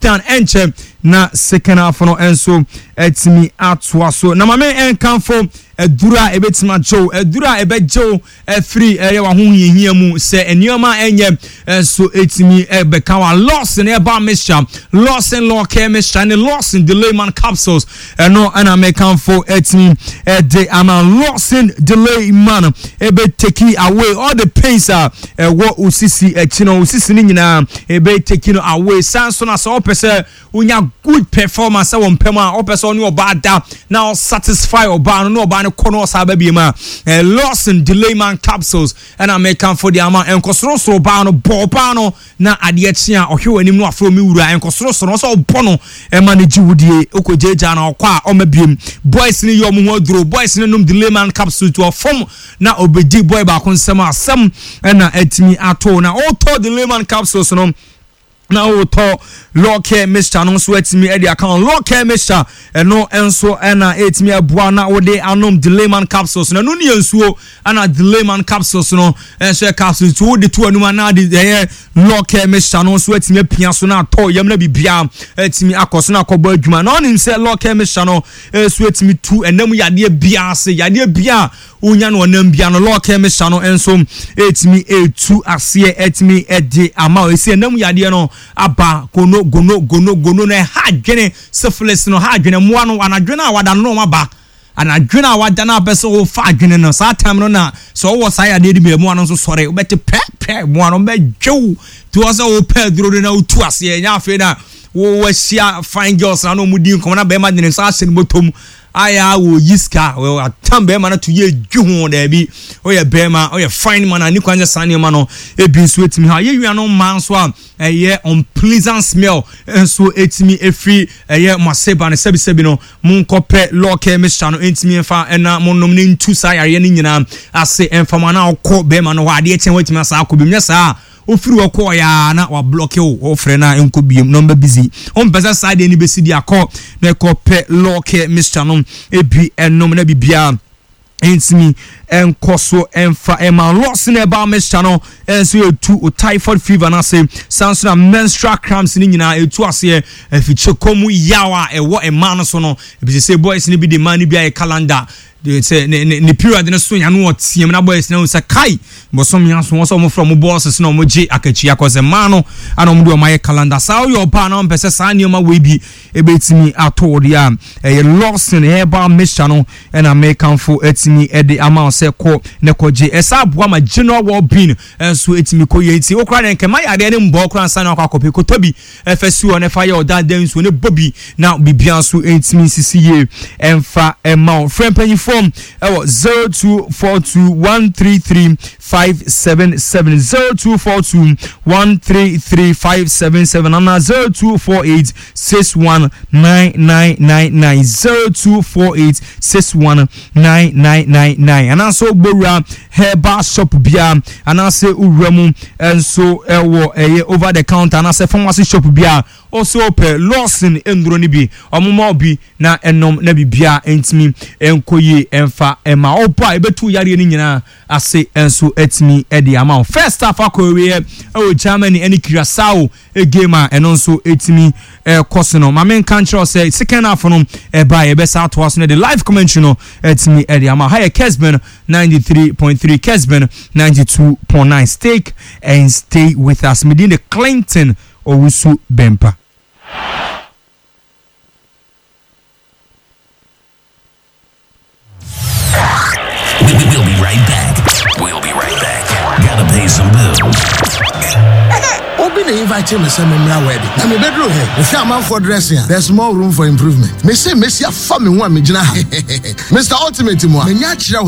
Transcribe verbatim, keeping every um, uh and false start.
Done. Ɛnkyɛ na second half no nso ɛtumi atoa so. Na maame ɛnkanfo aduru a ɛbɛtumi agyew, aduru a ɛbɛgyew ɛfiri ɛyɛ w'ahohiahia mu sɛ nneɛma ɛnyɛ nso ɛtumi ɛbɛka wa. Lawson Herbal Mixture, Lawson Law Care Mixture ne Lawson Delayman Capsules, ɛno ɛna mɛkanfo ɛtumi ɛde ama. Lawson Delayman ɛbɛ take away all the pains a ɛwɔ osisi akyi no, osisi no nyinaa ɛbɛ take no away. San so na sɛ ɔpɛ sɛ wonya good performance wɔ mpɛm a ɔpɛ sɛ ɔne ɔbaa da na ɔsatisfy ɔbaa no na ɔbaa no kɔ no ɔsaa ba biem a, eh, Lawson Delayman Capsules ɛna mɛkamfo de ama. Nkɔsorosoro baa no, bɔ ɔbaa no na adeɛ kye a ɔhwɛ w'anim no afrɛ mi wura. Nkɔsorosoro no ɔsɛ ɔbɔ no ɛma no gye wodie, wokɔ gyagya na ɔkɔ a ɔma biem. Boys no yɛ ɔmo ho aduro, boys no nom Delayman Capsules to ɔfam na ɔbɛdi boy baako nsɛm asɛm ɛna atumi ato. Na ɔtɔ Delayman Capsules no na wotɔ Law Care Mixture no nso atumi de aka ho. Law Care Mixture ɛno nso ɛna ɛtumi aboa na wode anom Delayman Capsules no. Ɛno ne yɛ nsuo, ɛna Delayman Capsules no nso yɛ capsules, nti wode to anum anaa de ɛyɛ Law Care Mixture no nso atumi apia so na atɔ yam na biribiara atumi akɔ so na akɔbɔ adwuma. Na ɔnim sɛ Law Care Mixture no nso atumi tu ɛnam yadeɛ biara ase, yadeɛ biara wonya no ɔnam bia no, Law Care Mixture no nso ɛtumi ɛtu aseɛ, ɛtumi ɛde ama. Ɛsi ɛnam yadeɛ no aba, gono gono gono gono no ɛha adwene, syphilis no ha adwene, mmoa no anadwene a wada no na ɔma ba anadwene a wada no apɛ sɛ wofa adwene no saa time no, na sɛ wowɔ saa yadeɛ no bi, mmoa no nso sɔre, wobɛte pɛ pɛ, mmoa no bɛdwew nti wɔ sɛ wopɛ aduro no na wotu aseɛ. Ɛnyɛ afei na wɔahyia fine girls na na ɔmo di nkɔmɔ na bɛrima de ne nsa ahyɛ ne bɔtɔm ayɛ a wɔyi sika atam bɛrima no to yɛ dwi ho. Daabi, ɔyɛ bɛrima, ɔyɛ fine man a ne kwan sɛ saa nneɛma no ebi nso etumi ha. Yɛ wia no mmaa nso a ɛyɛ unpleasant smell nso etumi efiri ɛyɛ mo aseba no, sɛbisɛbi no, mo nkɔpɛ Law Care Mixture no ntumi nfa ɛna mo nom ne ntu saa yareɛ no nyinaa ase ɛnfa mo. Anaa ɔkɔ bɛrima no hɔ adeɛ kyɛn wɔatumi asa akɔ bi nyɛ saa, ofiri hɔ kɔɔ yaa na wablock wo, wɔfrɛ no a nkɔ biem, number busy. Ɔmpɛ sɛ saa deɛ no bɛsi di akɔ na ɛkɔ pɛ Law Care Mixture no ebi ɛnom na biribiara ntumi nkɔ so ɛmfa ɛma. Lawson Herbal Mixture no ɛnso etu o typhoid fever n'ase, san so na menstrual cramps ne nyinaa etu aseɛ, efikyɛ kɔn mu yaw a ɛwɔ mmaa no so no ebi sɛ boys no bi de mmaa no bi ayɛ calendar sɛ ne ne ne period no so yano ɔteam na boys no sɛ kai bɔsɔm ya so wɔn sɛ wɔn frɛ wɔn bosses na wɔn gye akatua kɔ sɛ mmaa no ana wɔn de wɔn ayɛ calendar. Saa ɔyɛ ɔbaa na wɔn pɛ sɛ saa nneɛma wei bi ebetumi ato wɔ deɛ a ɛyɛ Lawson Herbal Mixture no ɛna mɛkanfo ɛtumi ɛde ama sɛ kɔ ne kɔgye. Ɛsa aboa ma general well being ɛnso ɛtumi kɔ yie, nti okura ne nkɛmɛ yadeɛ ne mbɔ okura nsa na akɔ akɔpɛ kotɔ bi ɛfɛ si hɔ ne fa yɛ ɔda dan nsuo ne bɔ bi na biribiara nso ɛntumi nsisi yie ɛnfa ɛma wo. Frɛ mpanyinfoɔ ɛwɔ zero two four two one three three five seven seven, zero two four two one three three five seven seven, ana zero two four eight six one nine nine nine nine, zero two four eight six one nine nine nine nine. Anaasɛ wobɔwura herbal shop biara anaasɛ wowura mu nso ɛwɔ ɛyɛ over the counter anaasɛ pharmacy shop biara, ɔsɛ ɔpɛ Lawson nduro no bi, ɔmoma bi na ɛnom na biribiara ntumi nkɔ yie ɛmfa ɛma ɔbɔ a ɛbɛtu yareɛ no nyinaa ase nso atumi ɛde ama wo. First half akɔ awieɛ ɛwɔ Germany ɛne Curacao game a ɛno nso ɛtumi ɛkɔ so no. Maame nka nkyerɛw sɛ second half no ɛba yɛbɛsa atoa so no de live commentary no ɛtumi ɛde ama ha. Yɛ Kesben ninety-three point three, Kesben ninety-two point nine. Stake and stay with us. Medin de Clinton Owusu Bempa. We'll be right back. We'll be right back. Gotta pay some bills. Obi na invite me sɛ memmra wedding na mebɛduru hɛ mehwɛ amanfoɔ dressing a, there's more room for improvement. Mese mesi afa me ho a megyina ha, Mister Ultimate mu a manya akyerɛ wo.